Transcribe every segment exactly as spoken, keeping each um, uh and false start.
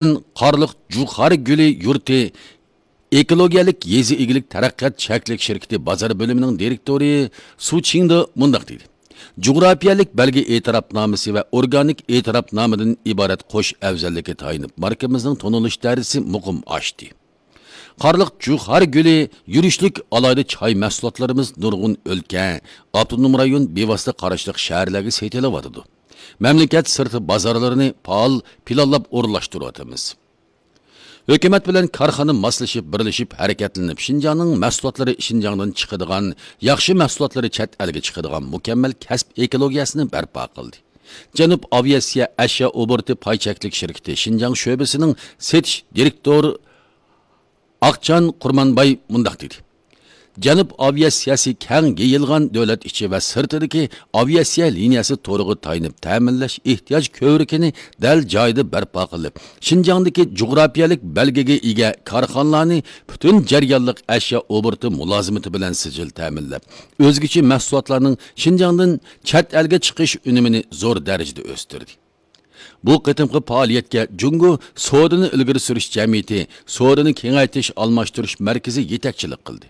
قارلىق جۇخار گۈلى يۇرتى ئېكولوگىيەلىك يېزا ئىگىلىك تەرەققىيات چەكلىك شىركىتى بازار بۆلۈمىنىڭ دىرېكتورى سۇ چىڭدې مۇنداق دېدى: جۇغراپىيەلىك بەلگە ئېتىراپنامىسى ۋە ئورگانىك ئېتىراپنامىدىن ئىبارەت قوش ئەۋزەللىككە تايىنىپ، ماركىمىزنىڭ تونۇلۇش دەرىجىسى مۇقىم ئاشتى. قارلىق جۇخار گۈلى يۈرۈشلۈك ئالاھىدە چاي مەھسۇلاتلىرىمىز نۇرغۇن ئۆلكە، ئاپتونوم رايون بىۋاسىتە قاراشلىق شەھەرلەرگە سېتىلىۋاتىدۇ. مەملىكەت سىرتى بازارلىرىنى پائال پىلانلاپ ئورۇنلاشتۇرۇۋاتىمىز. ھۆكۈمەت بىلەن كارخانا ماسلىشىپ، بىرلىشىپ ھەرىكەتلىنىپ، شىنجاڭنىڭ مەھسۇلاتلىرى شىنجاڭدىن چىقىدىغان، ياخشى مەھسۇلاتلىرى چەت ئەلگە چىقىدىغان مۇكەممەل كەسىپ ئېكولوگىيەسىنى بەرپا قىلدى. جەنۇب ئاۋىئاتسىيە ئەشيا ئوبوروتى پاي چەكلىك شىركىتى شىنجاڭ شۆبىسىنىڭ سېتىش دىرېكتورى ئاقچان قۇرمانباي مۇنداق دېدى: جەنۇب ئاۋىئاتسىيەسى كەڭ يېيىلغان دۆلەت ئىچى ۋە سىرتىدىكى ئاۋىئاتسىيە لىنىيەسى تورىغا تايىنىپ تەمىنلەش ئېھتىياج كۆۋرۈكىنى دەل جايىدا بەرپا قىلىپ، شىنجاڭدىكى جۇغراپىيەلىك بەلگىگە ئىگە كارخانىلارنى پۈتۈن جەريانلىق ئەشيا ئوبوروتى مۇلازىمىتى بىلەن سىجىل تەمىنلەپ، ئۆزگىچە مەھسۇلاتلارنىڭ شىنجاڭدىن چەت ئەلگە چىقىش ئۈنۈمىنى زور دەرىجىدە ئۆستۈردى. بۇ قېتىمقى پائالىيەتكە جۇڭگو سودىنى ئىلگىرى سۈرۈش جەمئىيىتى، سودىنى كېڭەيتىش ئالماشتۇرۇش مەركىزى يېتەكچىلىك قىلدى.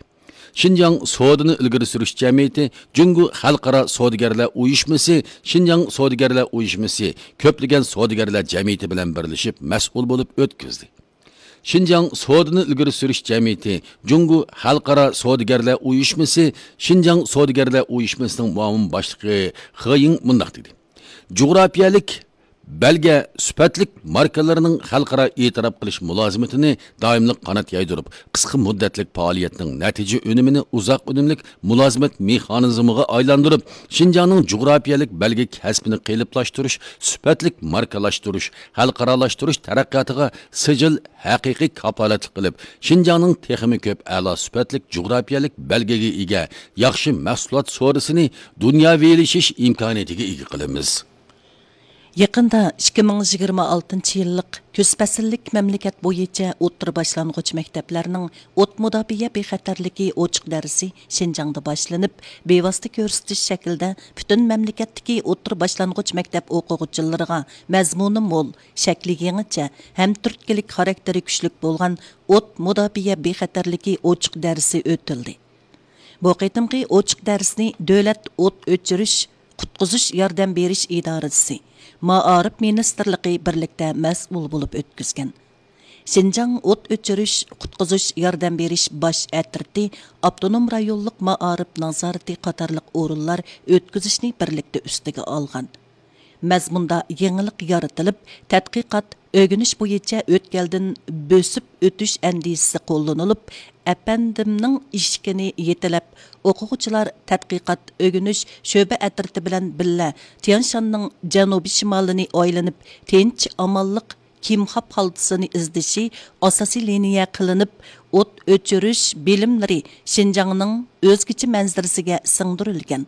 شىنجاڭ سودىنى ئىلگىرى سۈرۈش جەمئىيىتى جۇڭگو خەلقئارا سودىگەرلەر ئۇيۇشمىسى، شىنجاڭ سودىگەرلەر ئۇيۇشمىسى، كۆپلىگەن سودىگەرلەر جەمئىيىتى بىلەن بىرلىشىپ مەسئۇل بولۇپ ئۆتكۈزدى. شىنجاڭ سودىنى ئىلگىرى سۈرۈش جەمئىيىتى جۇڭگو خەلقئارا سودىگەرلەر ئۇيۇشمىسى، شىنجاڭ سودىگەرلەر ئۇيۇشمىسىنىڭ مۇئاۋىن باشلىقى خېيىڭ مۇنداق دېدى: جۇغراپىيەلىك بەلگە سۈپەتلىك ماركىلىرىنىڭ خەلقئارا ئېتىراپ قىلىش مۇلازىمىتىنى دائىملىق قانات يايدۇرۇپ، قىسقا مۇددەتلىك پائالىيەتنىڭ نەتىجە ئۈنۈمىنى ئۇزاق ئۈنۈملۈك مۇلازىمەت مېخانىزمىغا ئايلاندۇرۇپ، شىنجاڭنىڭ جۇغراپىيەلىك بەلگە كەسپىنى قېلىپلاشتۇرۇش، سۈپەتلىك ماركىلاشتۇرۇش، خەلقئارالاشتۇرۇش تەرەققىياتىغا سىجىل ھەقىقىي كاپالەتلىك قىلىپ، شىنجاڭنىڭ تېخىمۇ كۆپ ئەلا سۈپەتلىك جۇغراپىيەلىك بەلگىگە ئىگە ياخشى مەھسۇلات سودىسىنى دۇنياۋىلىشىش ئىمكانىيىتىگە ئىگە قىلىمىز. يېقىندا ئىككى مىڭ يىگىرمە ئالتىنچى يىللىق كۈز پەسىللىك مەملىكەت بويىچە ئوتتۇرا باشلانغۇچ مەكتەپلەرنىڭ ئوت مۇداپىئە بىخەتەرلىكى ئوچۇق دەرسى شىنجاڭدا باشلىنىپ، بىۋاسىتە كۆرسىتىش شەكلىدە پۈتۈن مەملىكەتتىكى ئوتتۇرا باشلانغۇچ مەكتەپ ئوقۇغۇچىلىرىغا مەزمۇنى مول، شەكلى يېڭىچە، ھەم تۈرتكىلىك خاراكتېرى كۈچلۈك بولغان ئوت مۇداپىئە بىخەتەرلىكى ئوچۇق دەرسى ئۆتۈلدى. بۇ قېتىمقى ئوچۇق دەرسنى دۆلەت ئوت ئۆچۈرۈش، قۇتقۇزۇش ياردەم بېرىش ئىدارىسى، مائارىپ مىنىستىرلىقى بىرلىكتە مەسئۇل بولۇپ ئۆتكۈزگەن. شىنجاڭ ئوت ئۆچۈرۈش، قۇتقۇزۇش ياردەم بېرىش باش ئەترىتى، ئاپتونوم رايونلۇق مائارىپ نازارىتى قاتارلىق ئورۇنلار ئۆتكۈزۈشنى بىرلىكتە ئۈستىگە ئالغان. مەزمۇندا يېڭىلىق يارىتىلىپ، تەتقىقات، ئۆگىنىش بويىچە ئۆتكەلدىن بۆسۈپ ئۆتۈش ئەندىزىسى قوللىنىلىپ، ئەپەندىمنىڭ ئىشىكىنى يېتىلەپ، ئوقۇغۇچىلار تەتقىقات، ئۆگىنىش شۆبە ئەترىتى بىلەن بىللە تيەنشاننىڭ جەنۇبىي شىمالىنى ئايلىنىپ، تىنچ، ئامانلىق، كىمخاب ھالتىسىنى ئىزدىشى ئاساسىي لىنىيە قىلىنىپ، ئوت ئۆچۈرۈش بىلىملىرى شىنجاڭنىڭ ئۆزگىچە مەنزىرىسىگە سىڭدۈرۈلگەن.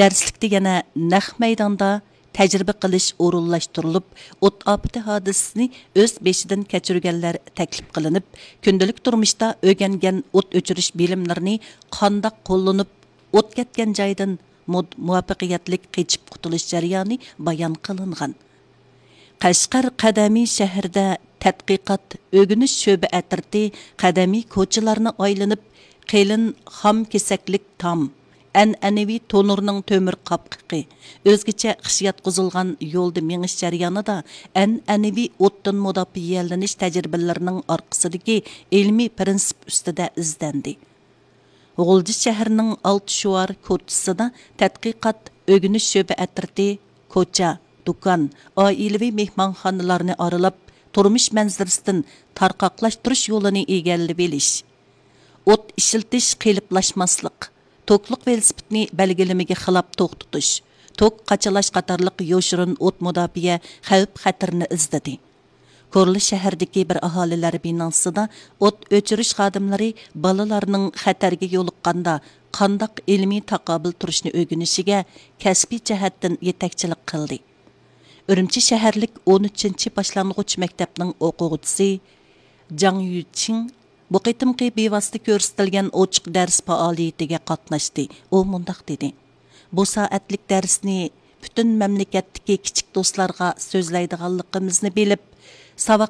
دەرسلىكتە يەنە نەق مەيداندا تەجرىبە قىلىش ئورۇنلاشتۇرۇلۇپ، ئوت ئاپىتى ھادىسىسىنى ئۆز بېشىدىن كەچۈرگەنلەر تەكلىپ قىلىنىپ، كۈندىلىك تۇرمۇشتا ئۆگەنگەن ئوت ئۆچۈرۈش بىلىملىرىنى قانداق قوللىنىپ، ئوت كەتكەن جايدىن مۇد-، مۇۋەپپەقىيەتلىك قېچىپ قۇتۇلۇش جەريانى بايان قىلىنغان. قەشقەر قەدىمىي شەھىرىدە تەتقىقات، ئۆگىنىش شۆبە ئەترىتى قەدىمىي كوچىلارنى ئايلىنىپ، قېلىن خام كېسەكلىك تام، ئەنئەنىۋى تونۇرنىڭ تۆمۈر قاپقىقى، ئۆزگىچە خىش ياتقۇزۇلغان يولدا مېڭىش جەريانىدا ئەنئەنىۋى ئوتتىن مۇداپىئەلىنىش تەجرىبىلىرىنىڭ ئارقىسىدىكى ئىلمىي پىرىنسىپ ئۈستىدە ئىزدەندى. غۇلجا شەھىرىنىڭ ئالتە شوئار كوچىسىدا تەتقىقات، ئۆگىنىش شۆبە ئەترىتى كوچا، دۇكان، ئائىلىۋى مېھمانخانىلارنى ئارىلاپ، تۇرمۇش مەنزىرىسىدىن تارقاقلاشتۇرۇش يولىنى ئىگىلىۋېلىش، ئوت ئىشلىتىش قېلىپلاشماسلىق، توكلۇق ۋېلىسىپىتنى بەلگىلىمىگە خىلاپ توختىتىش، توك قاچىلاش قاتارلىق يوشۇرۇن ئوت مۇداپىئە خەۋپ-خەتىرىنى ئىزدىدى. كورلا شەھەردىكى بىر ئاھالىلەر بىناسىدا ئوت ئۆچۈرۈش خادىملىرى بالىلارنىڭ خەتەرگە يولۇققاندا قانداق ئىلمىي تاقابىل تۇرۇشنى ئۆگىنىشىگە كەسپىي جەھەتتىن يېتەكچىلىك قىلدى. ئۈرۈمچى شەھەرلىك ئون ئۈچىنچى باشلانغۇچ مەكتەپنىڭ ئوقۇغۇچىسى جاڭ يۈچىڭ بۇ قېتىمقى بىۋاسىتە كۆرسىتىلگەن ئوچۇق دەرس پائالىيىتىگە قاتناشتى. ئۇ مۇنداق دېدى: بۇ سائەتلىك دەرسنى پۈتۈن مەملىكەتتىكى كىچىك دوستلارغا سۆزلەيدىغانلىقىمىزنى بىلىپ، ساۋاق